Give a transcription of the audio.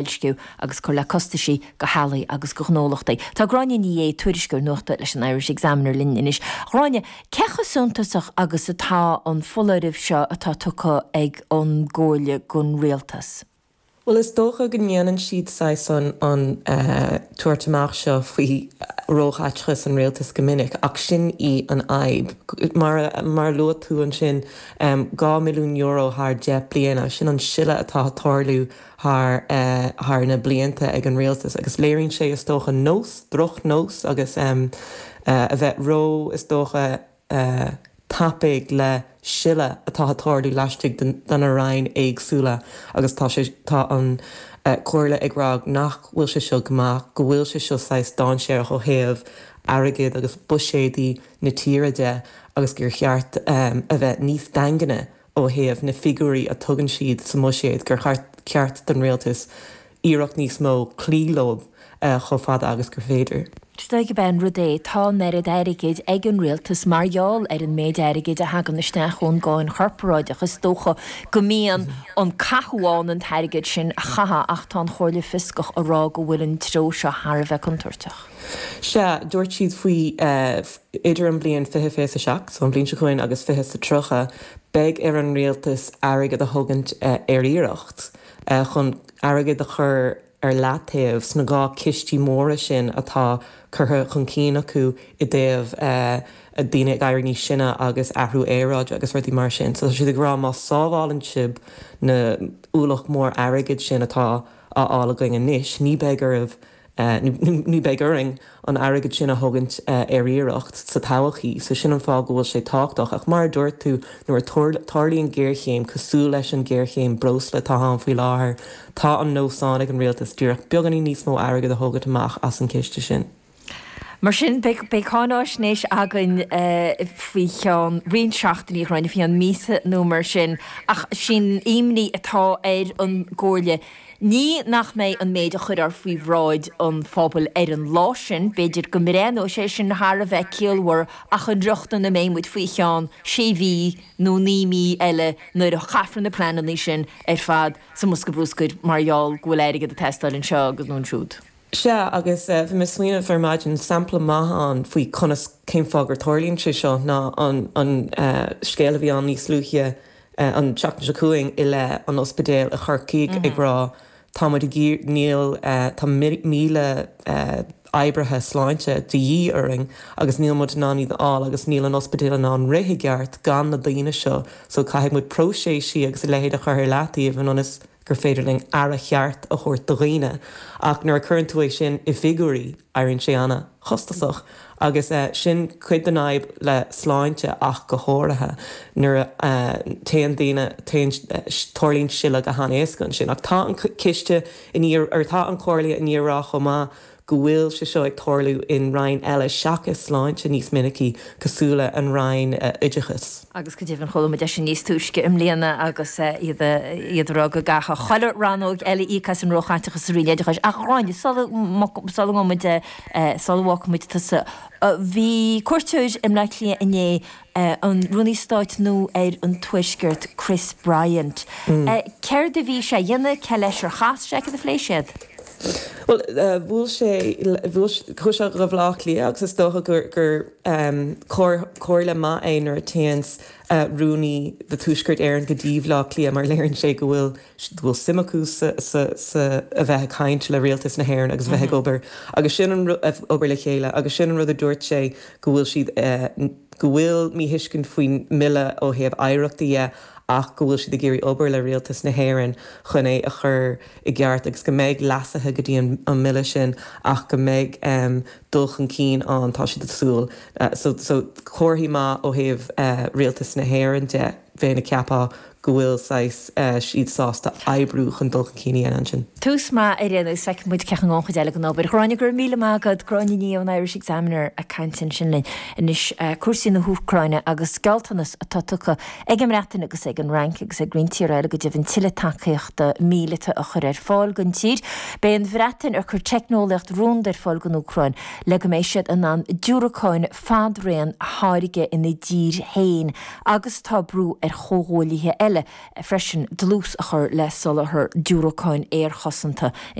Boilsciú agus cur le costaisí do theaghlaigh agus do ghnólachtaí. Tá Gráinne Ní Aodha, tuairisceoir nuachta leis an Irish Examiner linn anois. A Ghráinne, cé chomh suntasach agus atá an foláireamh seo atá tugtha ag an gComhairle don Rialtas? Bhuel, is dócha go ndéanann siad saghas an an tabhairt amach seo faoi róchaiteachas an rialtais go minic, ach sin í an fhadhb. Mar a mar a luaigh tú ansin, €2 mbilliún thar 10 bliana, sin an sileadh atá ag tarlú thar thar na blianta ag an rialtas agus léiríonn sé is dócha nós, drochnós agus a bheith ró is dócha tapaidh le sileadh atá ag tarlú laistigh de na roinn éagsúla agus tá sé tá an Comhairle ag rá nach bhfuil sé seo go maith, go bhfuil sé seo saghas dainséarach ó thaobh airgid agus buiséadaí na tíre de agus gur cheart a bheith níos daingne ó thaobh na figiúirí a tugann siad sa mbuiséad, gur cheart don rialtas iarracht níos mó cloí leo chomh fada agus gur féidir. Is dóigh gurb é an rud é, tá an oiread airgid ag an rialtas mar gheall ar an méid airgid a thagann isteach ón gcáin chorparáideach, is dócha go mbíonn an cathú ann an t-airgead sin a chaitheamh ach tá an Chomhairle Fioscach ag rá go bhfuil an treo seo thar a bheith contúirteach. Sea, dúirt siad faoi idir an bliain 2027, so an bhliain seo chugainn, agus 2030, beidh ar an rialtas airgead a thógaint ar iarracht chun airgead a chur ar leataobh sna 2 cistí móra sin atá curtha chun cinn acu i dtaobh daoine ag éirí níos sine agus athrú aeráide agus rudaí mar sin. So tá siad ag rá má sábhálann sibh na ualach mór airgid sin atá á fháil againn anois, ní beidh oraibh Ní beidh orainn an airgead sin a thógaint ar iarracht sa todhchaí, so sin an fáth go bhfuil sé tábhachtach. Ach mar a dúirt tú, nuair a tarlaíonn géarchéim cosúil leis an géarchéim breosla atá ann faoi láthair, tá an nós ann ag an rialtas díreach beagáinín níos mó airgead a thógaint amach as an ciste sin. Mar sin, beidh cáináisnéis againn faoi cheann roinnt seachtainí, a Ghráinne, faoi cheann míosa nó mar sin, ach sin an imní atá ar an gComhairle. Ní nach mbeidh an méid a chuirfear faoi bhráid an phobail ar an lá sin, b'fhéidir go mbreathnóidh sé sin thar a bheith ciallmhar ach an riocht ina mbeidh muid faoi cheann sé mhí nó 9 mí eile nuair a chaithfear na pleananna sin ar fad sa mbosca bruscair mar gheall go bhfuil airgead ag teastáil anseo agus nó ansiúd. Sea, agus bhí mé ag smaoineamh ar maidin, sampla maith ann faoi conas, cén fáth gur tarlaíonn sé seo ná an an scéal a bhí ann níos luaithe an tseachtain seo chugainn i leith an ospidéil i Chorcaigh ag rá tá muid ag iarr, níl, tá 1,000 oibrithe sláinte de dhíth orainn agus níl muid in ann iad a fháil agus níl an ospidéal in ann rith i gceart gan na daoine seo so caithfidh muid próiseasaí agus a leithéid a chur ar leataobh ionas gur féidir linn aire cheart a thabhairt do dhaoine ach nuair a cuireann tú é sin i bhfigiúirí, éiríonn sé ana-chostasach agus sin cuid den fhadhb le sláinte ach go háirithe nuair a téann daoine, téann, tarlaíonn sileadh go han-éasca ansin. Ach tá an ciste i ndiaidh, or tá an Chomhairle i ndiaidh a rá chomh maith go bhfuil sé seo ag tarlú in roinn eile seachas sláinte níos minicí, cosúil le an roinn oideachais. Agus go deimhin chuala muid é sin níos túisce i mbliana agus iad iad ag rá go gcaithfeadh chuile rannóg eile íoc as an róchaiteachas sa Roinn Oideachais. Ach a Ghráinne, sula sula ngabhann muid sula bhfágfaidh muid tusa, bhí cuairteoir i mBleá Cliath inné an Rúnaí Stáit nua ar an Tuaisceart, Chris Bryant. Céard a bhí sé a dhéanamh, cé leis ar chas sé, cad a phléigh siad? Bhuel, bhuail sé, bhuail, chuaigh sé go Bhaile Átha Cliath agus is dócha gur, gur comhairle maith é nuair a téanns Rúnaí do Tuaisceart Éireann go dtí Bhaile Átha Cliath mar léiríonn sé go bhfuil, go bhfuil suim acu sa, sa, sa, a bheith ag caint le rialtas na hÉireann agus a bheith ag obair agus sin an, obair le chéile agus sin an rud a dúirt sé go bhfuil siad, go bhfuil míthuiscint faoin mbille ó thaobh oidhreachta dhe ach go bhfuil siad ag iarraidh obair le rialtas na hÉireann chun é a chur i gceart agus go mbeidh leasuithe go dtí an mbille sin ach go mbeidh dul chun cinn ann, tá siad ag súil. So, so comharthaí maith ó thaobh rialtas na hÉireann de, bheinn ag ceapadh go bhfuil saghas siad sásta oibriú chun dul chun cinn a dhéanamh ansin. Tús maith ar aon nós, feicfidh muid cén chaoi a ngabhann an chuid eile den obair. Gráinne, go raibh míle maith agat. Gráinne Ní Aodha ón Irish Examiner ag caint ansin linn. Anois, cúrsaí na hÚcráine agus gealltanas atá tugtha ag an mBreatain agus ag an Fhrainc agus ag roinnt tíortha eile go deimhin tuilleadh tacaíochta míleata a chur ar fáil don tír. Beidh an Bhreatain ag cur teicneolaíocht rúnda ar fáil don Úcráin le go mbeidh siad in ann diúracáin fadraon a tháirgeadh ina dtír féin agus tá brú ar chomhghuaillithe eile. eile freisin dlús a chur le soláthar diúracáin aerchosanta.